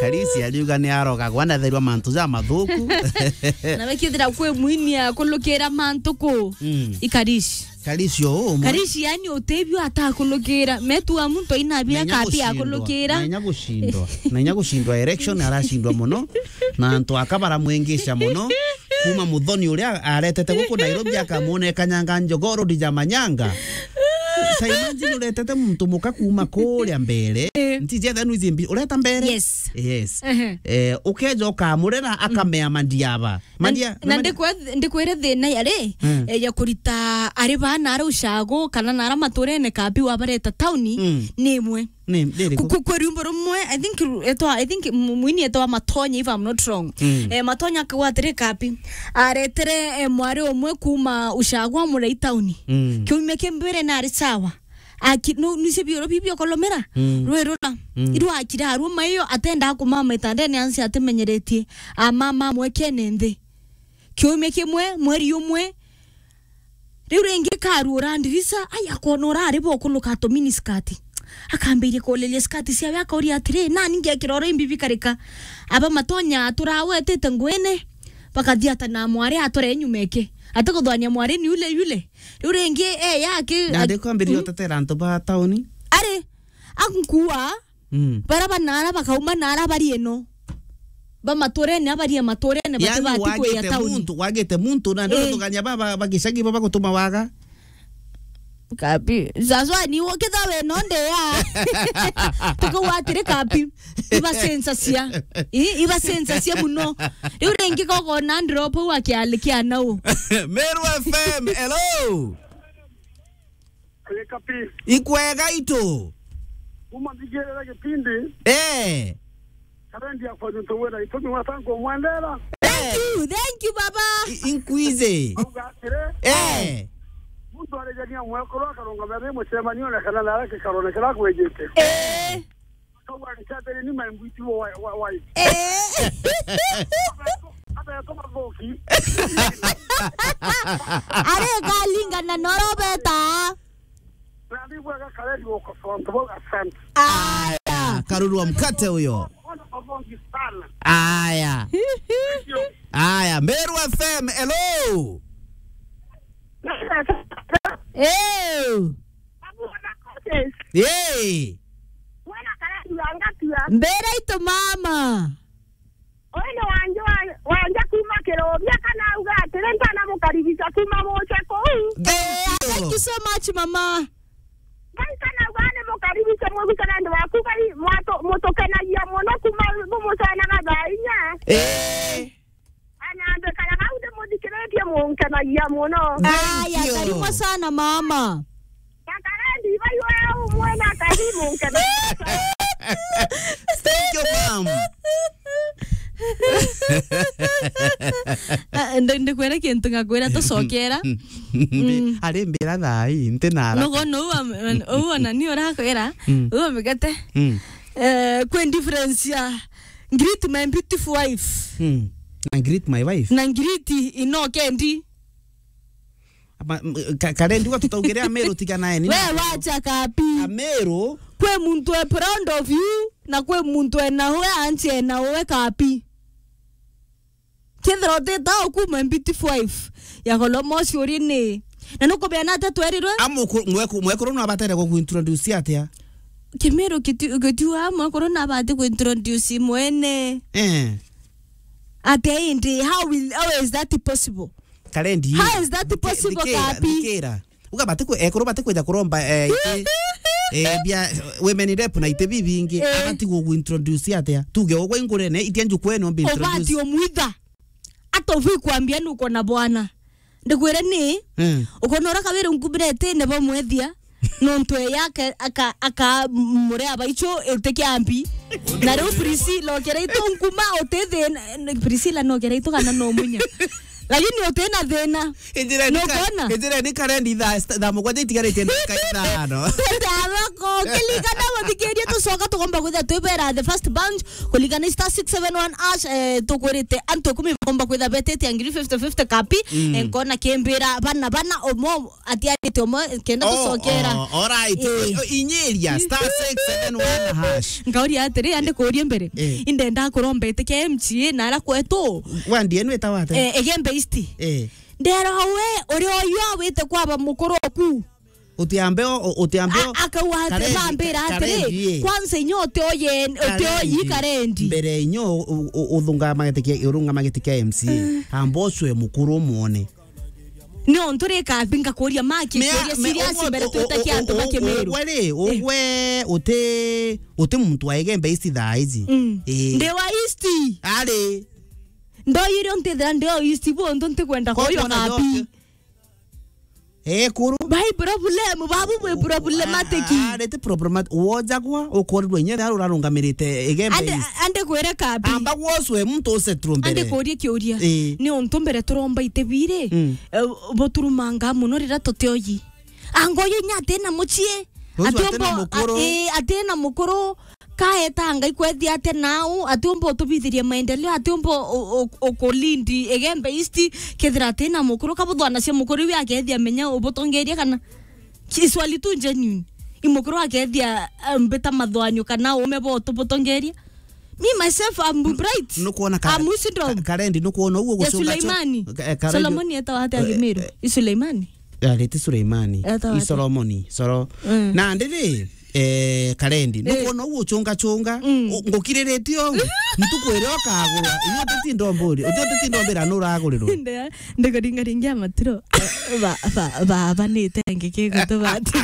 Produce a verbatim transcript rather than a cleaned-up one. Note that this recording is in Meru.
Karisi ariuga ni arogagwa na therwa mantu ja mathuku. Na wekithira kwi mwini akulukira mantu ku. Mm. Ikarishi. Karisi o umwe. Karisi yani utebio atakulukira. Metu wa muntu aina bia kapi akulukira. Na inya gucindwa. Na inya gucindwa election aracindwa muno. Na antu aka baramwengisha muno. Kuma Muthoni uria aretete guku Nairobi akamwona ekanyanga njogoro ndija manyanga. Ta imagine uretete muntu muka kuma kuria mbere. Eh. Ntiji ethenu izi mbi-, ureta mbere? Yes. Yes. Ehe. Eh, ukeja ukamurera, akamea mandiaba. Na, mandia-, na na mandi- ndikwe-, ndikwire thina yari, mm, eh, ya kurita ari bana ara ushago, kana na ara maturene kapi wabareta tauni, mm, ni imwe. Ni, ndiri ku-, ku-, ku-, kwi rwimbo rumwe, I think ru-, etwa, I think mu-, mwini etwa Matonya, if I'm not wrong. Mm. Eh, Matonya akauga atiri kapi. Aretere, eh, mwari umwe kuma ushago amurei tauni. Mm. Kiumia ki mbere nari sawa. Aki-, nu-, nuise bioro bibio kolomera. Mm. Rwe rura. Mm. Irwa akira aruma mayo atenda kumama itandene ansi atimenyeretie. Amama mwekene nthi. Kiumia kimwe, mweri umwe, riu ringi karuura ndirisa, ai, akona urari bokuluka tumini skati. Akambiria kuliria skati ciawe, akauria atiri, "Nani ngekira oro imbi bikarika?" Aba Matonya turawetete nguine, bakathiata na mwari atore nyuma eke. Atikuthwania mwari ni ule yule. Riu ringi, eh, yake, na a-, ndikwambiria, mm, utetera antu ba tauni. Ari, ankua, Mm. Bara banara bakauma nara bari eno. Ba maturene, abari a maturene, yani, batibati kuya wagite tauni. Muntu, wagite muntu, na, eh, ndurutugania ba, ba, ba gicagi ba bagutuma waga. Kapi. Sasa ni wo kitha we no nde ya. Tuko watire kapi. Iba sensa cia. I, iba sensa cia muno. Riu ringi kogo na ndropo wa kiali kia nau. Meru F M, hello. Eka pi. Ikwega itu. Kuma nthigirira gipindi. Eh. Karendi akwa nuntu wira itumi wata nkumwendera. Thank you, thank you, baba. I-, inkwize. Auga atiri. Eh. Muntu arijania mwekuru akarungama ri mucemanio na kana nara kikarone kira kwijite. Eh. Akauga, "Nchambere ni my mbwiti wa, wa, wa." Eh. Abeto mathuki. Are kalingana norobeta. Na ndigwaga kareri gukosoa antu bau, asante. Aya, karurwa mkate huyo. Wana mathuki sana. Aya. Aya, Meru F M, hello. Eh. Yee. Mwana karari wa ngatua. Mbere itu mama. Uyu ni Wanja wa, Wanja kuma Kirobia, kana auga atiri, "Ntana mukaribisha kuma muce kuu." Thank you. Thank you so much, mama. Ngai kana auga ni mukaribisha mwigucana ndi waku, Ngai mwatu-, mutukenagia muno kuma bumucenaga thaa inya. Eh. Anambe kana bau ndimuthikiritie munkenagia muno. Aya, thank you. Karibu sana mama. Kakarendi, ibai wewe umwe na karibu munkenagia. Thank you, mom. Ah, ndi-, ndikwira kintu ngakwira tucokera. Mm. Ari mbira thai, nti na haraka. Nogo no uwa, uwa na ni urakwira, mm, uwa migate. Mm. Eh, kwi difference ya Greet my beautiful wife. Hmm. Na greet my wife. Na greet ino kendi. Ama, m-, ka-, karendi uga tutaugire Ameru tigana eni. We wacha kapi. Ameru. Kwi muntu e proud of you, na kwi muntu ena we anche ena we kapi. Kethira utita ukuma beautiful wife ya kolomosi uri ni. Na nukumenya atia twerirwe? Amuku-, mweku-, mwekuru no abatere gukuintroduce atia? Kimiru kitu-, gitiuga mwekuru nabati kuintroduce mwene. Eh. Atia indi? How will, how is that possible? Karendi. How is that possible, kapi? Ndikira. Uga bati ku-, ekuru bati kwija kuromba, eh, iti, eh, bia, women rep na iti bibingi. Eh. Abati gukuintroduce atia? Tuge ugwe ingurene, itia njukwene umbi introduce. Ubati umwitha. Ata uvi kwambia nuko na bwana. Ndikwire ni, mm, ukona ura kawira nkumbire itine bamwethia, nontu e yake aka, aka mure abaicho itikiambi. Na riu Priscilla okira itu nkuma utithina, Priscilla nokira itu kana no munya. Lakini utina thina. Injireni ka-, Nukona? Injireni Karendi thaa st-, thaa mugwanja itigarite ndagika ithano. Twende thoko, kilikana guthikiria tucoka tugomba kwithira twibera the first bunch, kulikana star six seven one hash, eh, tukwirite antu ikumi bagomba kwithira betete ngiri fifty fifty kapi, Mm. eh, nkona kimbira bana bana omo atiarite omo kenda Oh, tucokera. Oh, all right. Eh. O-, o-, inyiria star six seven one hash. Nkauria atiri, ande kuuria mbere. Eh. Indenda kuromba itikia M C A na ara kwetu. Wandi enu itawa atia? Eh, Igembe East. Eh. Ndero we, uri oyu awite kwaba mukuru oku. Utiambe o-, o-, utiambe o-, A-, akauga ati, Karendi, mambira ka-, atiri, Karendi, eh. Kwanza inyo uti oye, uti oyi Karendi. Karendi. Mbere inyo u-, u-, uthunga magiti kia, urunga magiti kia M C A. Mm. Amba ucwe mukuru umwone. Ni untu ri kabi ngakuria maki, Mea-, kuria me-, serious uguo, mbere u-, twite u-, kia antu u-, ba Kimiru. Ugwe ri, Eh. ugwe uti, uti muntu wa Igembe East thaa ici. Mm. Eh. Ndi wa East. Ari. Ndoyire untithira ndi o East, bu untu ntikwenda Kwa kuyo kuona kabi. Joke. Eh, kuru. Bai problem, babu bwi problematic. Ah, ah, rete problemat-, wojagwa, ukorirwe inya ria urarungamirite Igembe Ande, East. Ande kwire kabi. Amba gwocwe muntu usetrwo mbere. Ande kuria kiuria. Eh. Ni untu mbere turomba itebire, Mm. eh, buturumanga muno rira tutioyi. Angoyo inya atina mucii. Ucio atina mukuru. Ati umbo, a-, eh, atina mukuru. Kaeta Ngai kwethia atia nau, atiumba utubithiria maendeleo, atiumba u-, u-, ukulindi Igembe East, kethira atina mukuru, kabuthwanacia mukuru iwe akethia menya ubutongeria kana. Ki-, swali tu genuine. I mukuru akethia, eh, mbita mathwanio kana ume bo tubutongeria. Me, myself, I'm bright. Nukwona ka-, I'm wisdom. Ka-, Karendi, nukwona uguo Ya gucunga cu-, Suleimani. Ka-, eh, Karendi. Solomoni etawa atia Eh, Kimiru? Eh. I Suleimani? Ariti Suleimani. Etawa I atia? Solomoni. Solo-, Mm. Na ndiri, eh, Karendi. Eh. Nukwona uguo uchunga chunga. Mm. U-, ngukiriritie uguo. Ntuku iria ukagurwa. Iyo tutindo mburi. Iyo tutindo mbira nuragurirwa. Nde-, ndikuringaringia maturo. Ba, ba, ba, ba, nite ngiki gutu bati.